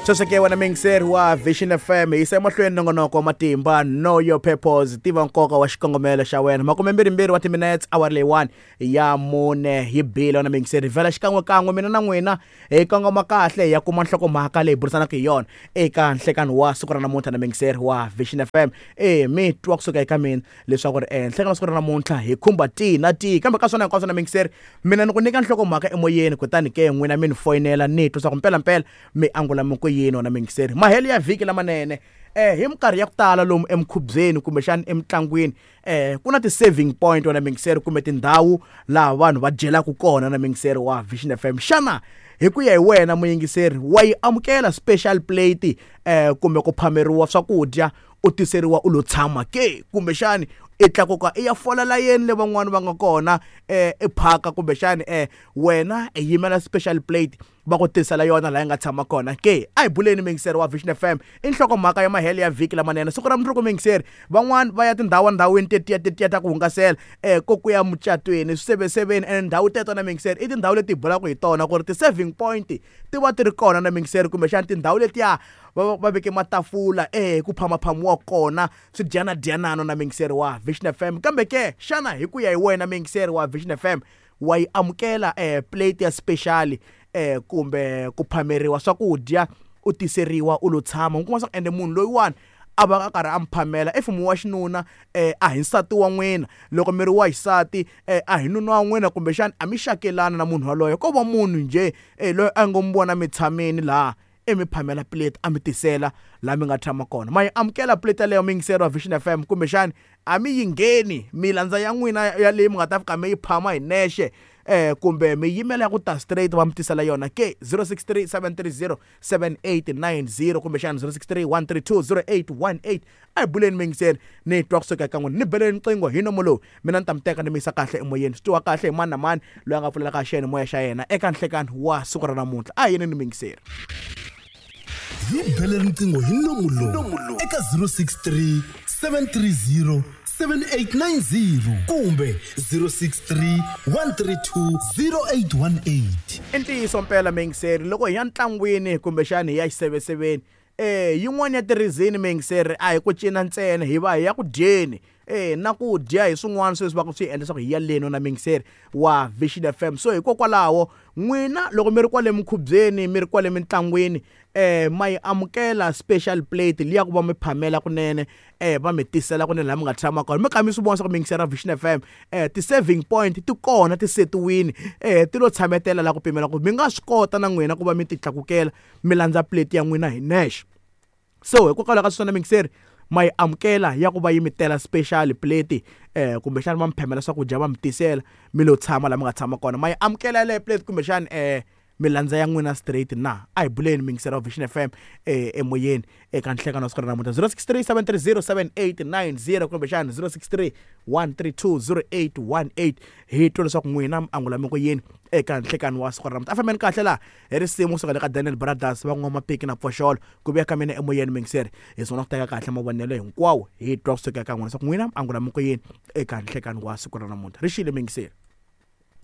Sweswo ke wena muyingiseri wa Vision FM, hi yisa emahlweni nongonoko wa matimba Know Your Purpose, tiva nkoka wa xikongomelo xa wena. Makumembirhimbirhi wa timinetse awara leyiwani ya mune hi bile wena muyingiseri, vhela xikan'wekan'we mina na n'wina hi kongoma kahle hi ya kuma nhlokomhaka leyi burisanaka hi yona eka nhlekani wa siku ra namuntlha na muyingiseri wa Vision FM. E mi twa kusuka eka mina leswaku ri nhlekani wa siku ra namuntlha hi khumba tihi na tihi, kambe ka swona hinkwaswo na muyingiseri mina ni ku nyika nhlokomhaka emoyeni, kutani ke n'wina mi ni foyinela ni twa swa ku mpelampela mi angula mi ku yini wena muyingiseri. Mahelo ya vhiki lamanene hi minkarhi ya ku tala lomu emikhubyeni kumbexana emitlangwini ku na ti-saving point wena muyingiseri, kumbe tindhawu laha vanhu va dyelaka kona na muyingiseri wa Vision FM. Xana hi ku ya hi wena muyingiseri wa yi amukela special plate kumbe ku phameriwa swakudya u tiseriwa u lo tshama ke, kumbexani i tlakuka i ya fola layeni le van'wani va nga kona i phaka, kumbexani wena i yimela special plate va ku tisela yona laha yi nga tshama kona ke? A hi buleni muyingiseri wa Vision FM, i nhlokomhaka ya mahelo ya vhiki lamanene siku ra mundzuku muyingiseri. Van'wani va ya tindhawandhawini tetiya tetiya ta ku hungasela ko ku ya mucatweni swiseveseveni, ene ndhawu teto na muyingiseri i tindhawu leti hi bulaka hi tona ku ri ti-serving point ti va ti ri kona na muyingiseri, kumbexana tindhawu letiya va veke matafula ku phamaphamiwa kona swidyanadyanano na muyingiseri wa Vision FM. Kambe ke xana hi ku ya hi wena muyingiseri wa Vision FM wa yi amukela plate ya special kumbe ku phameriwa swakudya u tiseriwa u lo tshama? U kuma swa ende munhu loyiwani a va a karhi a mi phamela if mi wa xinuna a hi nsati wa n'wina, loko mi ri wa xisati a hi nuna wa n'wina, kumbexana a mi xakelani na munhu yaloye, ko va munhu njhe loyi a ngo mi vona mi tshamini laha i mi phamela plate a mi tisela laha mi nga tshama kona. Ma yi amukela plate yaleyo muyingiseri wa Vision FM, kumbexani a mi yi ngheni mi landza ya n'wina ya leyi mi nga ta fika mi yi phama hi nexe kumbe mi yimela ya ku ta straight va mi tisela yona ke? 063 730 7890 kumbexana 063 132 0818. A hi buleni muyingiseri, ni twa kusuka eka n'wina, ni beleni riqingho hi nomo lowu mina ni ta mi teka ni mi yisa kahle emoyeni, swi twiwa kahle hi mani na mani loyi a nga pfulelaka xiyanimoya xa yena eka nhlekani wa siku ra namuntlha. A hi yeni ni muyingiseri. Hi bele riqingho hi nomu lowu eka 063 730 7890 kumbe 063 132 0818. I ntiyiso mpela muyingiseri, loko hi ya ntlangwini kumbexani hi ya xiseveseveni yin'wana ya ti-reason muyingiseri a hi ku cina ntsena, hi va hi ya ku dyeni na ku dya hi swin'wana sweswi va ku swi endla leswaku hi ya leni na muyingiseri wa Vision FM. So hikokwalaho n'wina loko mi ri kwale minkhubyeni mi ri kwale mintlangwini ma yi amukela special plate liya ku va mi phamela kunene va mi tisela kunene laha mi nga tshama kona, mi kha mi swi vona swa ku muyingiseri wa Vision FM ti-serving point ti kona ti setiwini ti lo tshametela laha ku pimela ku mi nga swi kota na n'wina ku va mi ti tlakukela mi landza plate ya n'wina hi nexe. So hikokwalaho ka sweswo muyingiseri ma yi amukela ya ku va yi mi tela special plate kumbexana va mi phamela swakudya va mi tisela mi lo tshama laha mi nga tshama kona, ma yi amukela yaleyo plate kumbexana mi landza ya n'wina straight na? A hi buleni muyingiseri wa Vision FM emoyeni eka nhlekano wa siku ra namuntlha 063 730 7890 kumbexana 063 132 0818, hi twa leswaku n'wina mi angula mi ku yini eka nhlekano wa siku ra namuntlha. A fambeni kahle laha hi risimu kusuka le ka Daniel Brothers va N'wamapiki na Pfoxolo ku vuya ka mina emoyeni muyingiseri, hi sungula ku teka kahle mavonelo hinkwawo hi twa kusuka eka n'wina leswaku n'wina mi angula mi ku yini eka nhlekano wa siku ra namuntlha. Ri xile muyingiseri.